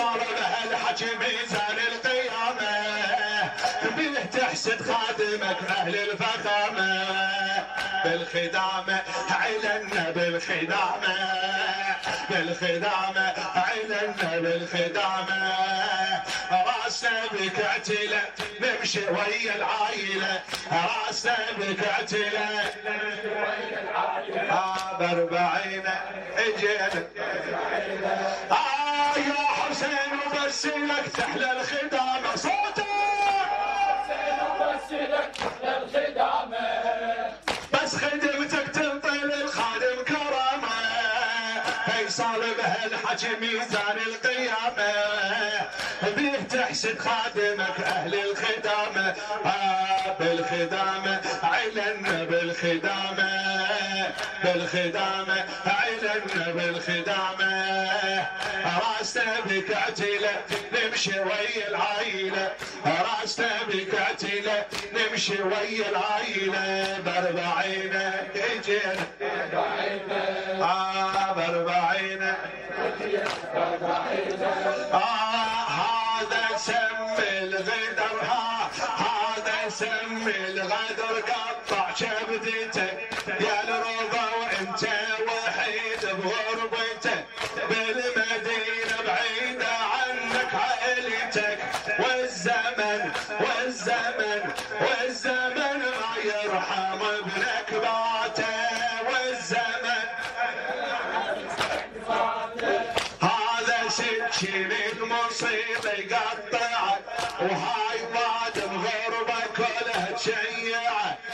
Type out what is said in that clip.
صار بهالحكي ميزان القيامة بيه تحسد خادمك أهل الفخامة بالخدامة علنا بالخدامة بالخدامة علنا بالخدامة راسنا بكعتلة نمشي ويا العايلة راسنا بكعتلة نمشي ويا العايلة باربعينه اجينا يا حسين وبس لك تحلى الخدامة صوتك حسين وبس لك تحلى الخدامة بس خدمتك تنطي للخادم كرامة فيصل بهالحكي ميزان القيامة بيه تحسد خادمك أهل الخدامة بالخدامة علنا بالخدامة بالخدامة علنا بالخدامة راسنا بكعتلة نمشي ويا العايلة راسنا بكعتلة نمشي ويا العايلة باربعينه اجينا باربعينه هذا سم الغدر هذا سم الغدر قطع شبدتك يا الرضا وانت وحيد بغربتك بالمدينة بعيدة عنك عائلتك والزمن والزمن والزمن ما يرحم ابنك باته والزمن هذا سكين المصيبة يقطعك وهاي بعد بغربة كلها تشيع